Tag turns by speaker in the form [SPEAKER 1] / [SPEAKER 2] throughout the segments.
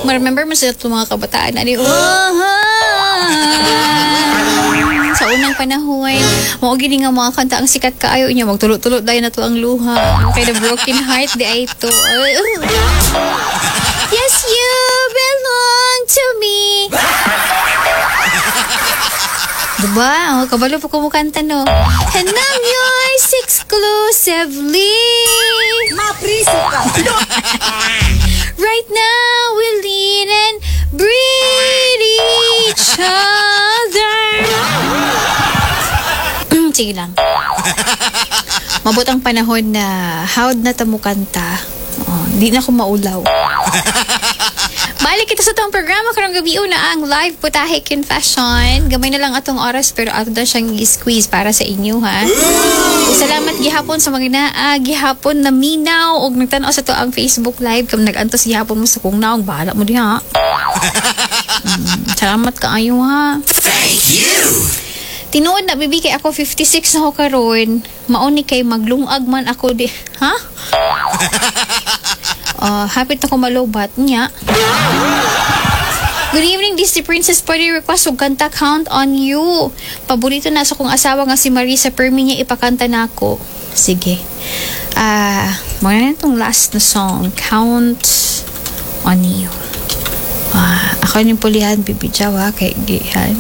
[SPEAKER 1] Ma-remember mo sa itong mga kabataan ani, oh, sa unang panahon mao gini nga mga kanta ang sikat kaayo niya, magtulo-tulo dayon na to ang luha kay the broken heart diay to. Yes, you belong to me. Diba? Oh, kabalo pa ko mukanta, no? And I'm yours exclusively.
[SPEAKER 2] Mapriso ka.
[SPEAKER 1] Right now, we lean and breathe each other. Sige lang. Mabot ang panahon na hawd na ta mukanta. Oh, di na ko maulaw. Balik kita sa atong programa karong gabi na ang live Putahe Confession. Gamay na lang atong oras pero ato na siyang i-squeeze para sa inyo, ha. Ug salamat gihapon sa mga naa gihapon na minaw og nagtan-aw sa atoang Facebook Live. Kam nag-antos gihapon mo sa kong naong, bahala mo diha. Salamat kaayo, ha.
[SPEAKER 3] Thank you.
[SPEAKER 1] Tinuod na, bibi, kay ako 56 na ko karon. Mao ni kay maglungag man ako di. Ha? Hapit na ko malobat niya. Good evening, Disney Princess. Pwede request og kanta, "Count on You"? Paborito na sa kong asawa nga si Marisa. Permi niya ipakanta na ako. Sige. Ah, uh, na itong last na song, "Count on You". Ah, ako yung pulihan, Bibi Jawa, kay gihan.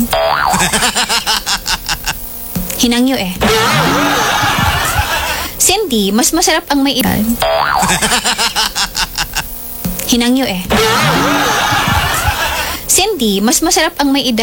[SPEAKER 1] Hinangyo eh. Cindy, mas masarap ang may edad. Hinangyo eh. Cindy, mas masarap ang may edad.